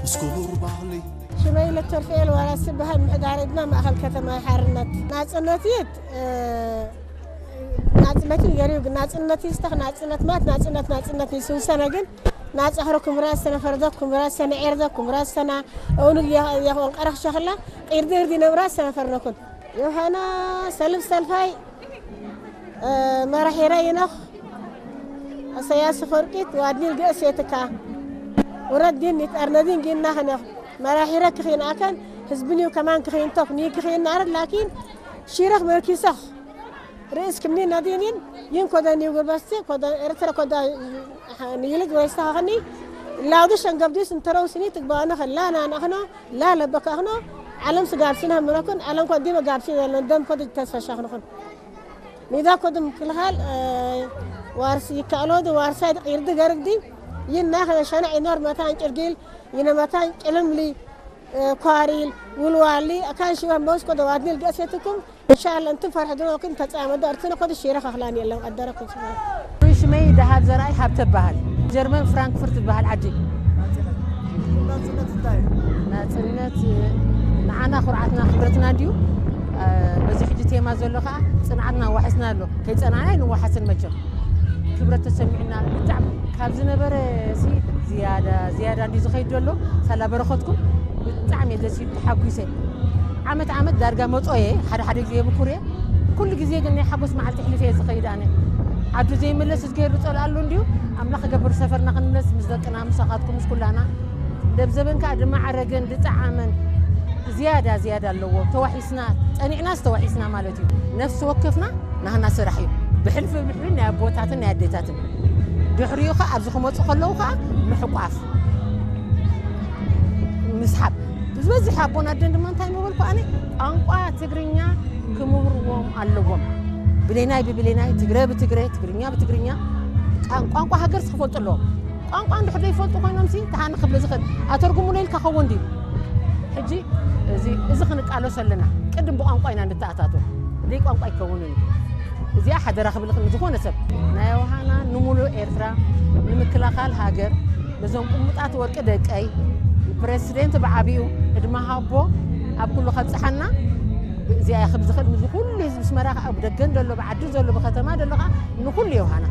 ምስ ክቡር ባህሊ ሽመይ ለተርፍኤል ዋራስ ዝበሃል ምሕዳር ድማ ማእኸል ከተማ ሓርነት ናፅነት ይት ናፅነት ገሪው ናፅነት ይስተኽ ናፅነት ማት ናፅነት ናፅነት ይስውሰነ ግን ናፃኽሮ ኩምራት ሰነ ፈርዶ ኩምራት ሰነ ዔርዶ ኩምራት ሰና እውኑ የኾን ቀረኽ ሸኽላ ቂርዲ እርዲ ነብራት ሰነ ፈርነኩን ዮሃና ሰልፍ ሰልፋይ መራሒረ ይነኽ እሰያስ ፈርቂት ዋድኒል ገእሴትካ ውረድ ዲን ይጠርነዲን ጊና ኸነኽ መራሒረ ክኺን ኣከን ህዝብኒው ከማን ክኺንቶክ ኒ ክኺን ናርድ ላኪን ሺረኽ መርኪሰኽ ርእስ ክምኒ ነዲኒን ይን ኮደ ኒው ጉርበስቲ ኮደ ኤርትረ ኮደ ንይልግ ወይስተኸኸኒ ላውዲ ሸንገብዲስ እንተረው ስኒ ትግባእነ ኸላ ናናኽኖ ላ ለበካኽኖ ዓለም ስጋብሲና ምረኩን ዓለም ኮ ዲመ ጋብሲ ዘለን ደም ኮደ ተስፈሻኽንኹን ሚዳ ኮድም ክልኻል ዋርስ ይካእሎድ ዋርሳይ ቂርድ ገርግዲ ይና ኸነ ሸነዕ ይኖር መታን ጭርጊል ይነ መታን ጭልምሊ ኳሪል ውልዋሊ ኣካን ሽበ መውስ ኮደ ዋድኒል ገእሴትኩም እንሻላ እንትን ፈርሕ ድኖ ክን ተጻመዶ ኣርትነ ኮደ ሽረ ኸኽላን የለን ቀደረኩም ሽበ ሽመይ ደሃብ ዘርኣይ ሃብተ በሃል ጀርመን ፍራንክፍርት ዝበሃል ዓዲ ናፅነት ንዓና ኩርዓትና ክብረትና እንድዩ በዚ ሕጂ ቴማ ዘሎ ከዓ ፅንዓትና ዋሒስና ኣሎ ከይፀናዕና ይንዋሓስን መቸም ክብረት ተሰሚዕና ብጣዕሚ ካብ ዝነበረ ሲ ዝያዳ ዝያዳ እንዲ ዝኸይድ ዘሎ ሳላ በረኸትኩም ብጣዕሚ እየ ደስ ኢሉ ተሓጒሰ ዓመት ዓመት ዳርጋ መጾ እየ ሓደ ሓደ ግዜ የብኩር እየ ኩሉ ግዜ ግን ናይ ሓጎስ መዓልቲ ሕልፍ እየ ዝኸይድ ኣነ ዓዱ ዘይመለስ ዝገይሩ ጸልኣሉ እንድዩ ኣምላኽ ገብር ሰፈርና ክንመለስ ምስ ደቅና ምሳኻትኩም ምስ ኩላና ደብዘበን ከዓ ድማዓረገን ድጠዓመን ዝያዳ ዝያዳ ኣለዎ ተዋሒስና ጸኒዕናስ ተዋሒስና ማለት እዩ ነፍሲ ወከፍና ናህና ስራሕ እዩ ብሕልፊ ብድሕሪ ናይ ኣቦታትን ናይ ኣዴታትን ድሕሪኡ ከዓ ኣብዚ ክመፁ ከለዉ ከዓ ምሕቋፍ ምስሓብ ዝበዝሕ ኣቦን ኣደን ድማ እንታይ ምበልኩ ኣነ ቋንቋ ትግርኛ ክምህርዎም ኣለዎም ብሌናይ ብብሌናይ ትግረ ብትግረ ትግርኛ ብትግርኛ ቋንቋ ሃገር ክፈልጡ ኣለዎም ቋንቋ እንድሕር ዘይፈልጡ ኮይኖም ሲ ተሃኒ ክብል ዝኽእል ኣተርጉሙለ ኢልካ ኸውን ድዩ ሕጂ እዚ እዚ ክንቃለሶ ኣለና ቅድም ብቋንቋ ኢና ንተኣታቶ ደይ ቋንቋ ኣይከውንን እዩ እዚኣ ሓደራ ክብል ዝኾነ ሰብ ናይ ውሃና ንሙሉእ ኤርትራ ንምክላኻል ሃገር ነዞም ቁሙጣት ወርቂ ደቀይ ንፕረሲደንት ብዓብኡ ዕድመ ሃቦ ኣብ ኩሉ ከብፅሓና እዚኣ ክብ ዝኽእል ንዚ ኩሉ ህዝቢ ስመራ ከዓ ብደገን ዘሎ ብዓዲ ዘሎ ብከተማ ዘሎ ከዓ ንኩሉ የውሃና